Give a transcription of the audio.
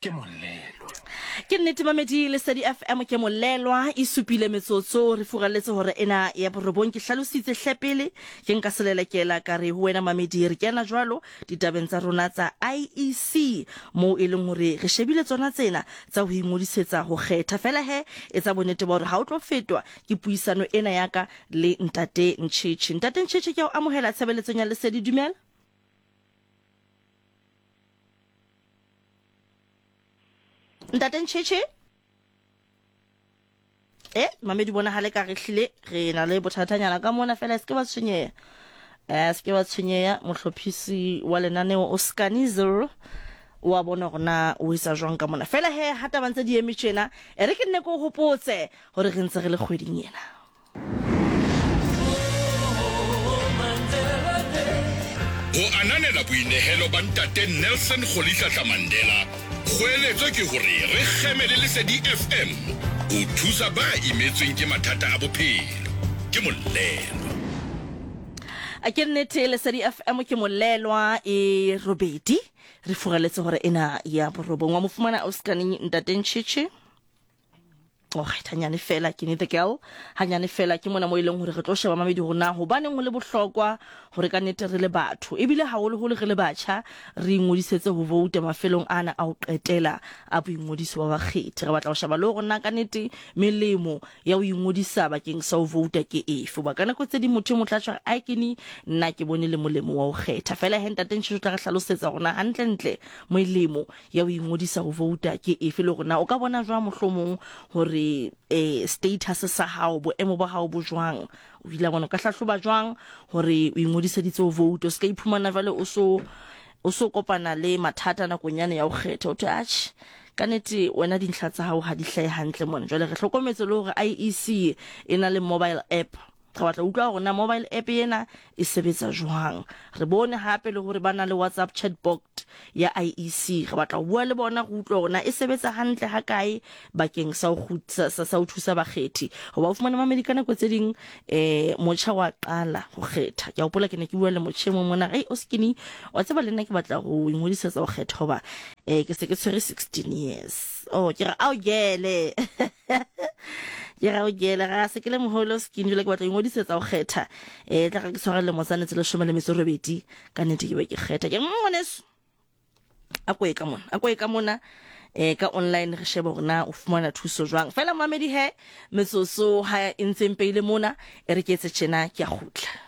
Ke molelwa. Ke nnete mamedi Lesedi FM ke molelwa e supile metsotso re furaletse hore ena ya borobong ke hlalositse hle pele ke nka selelekela ka re ho wena mamedi re kena jwalo ditabeng tsa rona tsa IEC moo e leng hore re shebile tsona tsena tsa ho ingodisetsa ho kgetha fela he etsa bonnete ba hore ha o tlo fetwa ke puisano ena ya ka le ntate Ncheche. Ntate Ncheche ke a o amohela tshebeletsong ya Lesedi dumela. Ntate Ncheche e mamedi bonagale ka re hlile re na le bothatanyana ka mona fela se ke ba tshwenyeha um se ke ba tshwenyeha mohlophisi wa lenaneo o scanizer wa bona gore na o etsa jwang ka mona fela he ha taba ntse di eme tjena e re ke nne ke o hopotse gore re ntse re le kgweding ena. Ho ananela boinehelo ba Ntate Nelson Rolihlahla Mandela, kgoeletso ke hore re kgeme le Lesedi FM ho thusa ba imetsweng ke mathata a bophelo. Ke Molelwa. A ke nnete Lesedi FM ke Molelwa e robedi re furaletse hore ena ya borobong wa mo fumana ausi Ntate Nchichi. Alright, hanyane fela ke need the girl. Hanyane fela ke mona mo e leng hore re tlo sheba mamedi hore na hobaneng ho le bohlokwa hore ka nnete re le batho ebile haholoholo re le batjha re ingodisetse ho vouta mafelong ana a ho qetela a boingodiso ba bakgethi. Re batla ho sheba le hore na ka nnete melemo ya ho ingodisa bakeng sa ho vouta ke efe. Hoba ka nako tse ding motho e motla tjho ai ke ni nna ke bone le molemo wa ho kgetha. Fela he ntate Ntšhetšo tla re hlalosetsa hore na hantlentle molemo ya ho ingodisa ho vouta ke efe le hore na o ka bona jwang mohlomong hore eh, status sa hao boemo ba hao bo jwang o ile bona o ka hlahloba jwang hore o ingodiseditse ho vouta o se ka iphumana jwale o so o so kopana le mathata nakong yane ya ho kgetha o thwe atjhe ka nete wena dintlha tsa hao ha di hlahe hantle mona jwale re hlokometse le hore IEC e na le mobile app Re batla ho utlwa hore na mobile app ena e sebetsa jwang. Re bone hape le hore ba na le WhatsApp chatbot ya IEC. Re batla ho bua le bona re utlwe hore na e sebetsa hantle hakae bakeng sa ho sa, sa ho thusa bakgethi. Hoba o fumane mamedi ka nako tse ding eh motjha wa qala ho kgetha. Ke a hopola ke ne ke bua le motjha e mong mona, "Hey o skinny, wa tseba le nna ke batla ho ingodisetsa ho kgetha hoba eh ke se ke tshwere 16 years." Oh, ke re ao gele. Ke ra o kele ga se ke le moholo skin jwale ke batla ingodisetsa go kgetha um tla ga ke tshwara lemo tsane tse 18 ka nnete ke be ke kgetha ke ngwaneso a koe ka mona a koe ka mona um ka online re shebe gore na o fumana thuso jwang fela mamedi he metsotso ha e ntseng peile mona e re ke etse tjena ke a kgutla.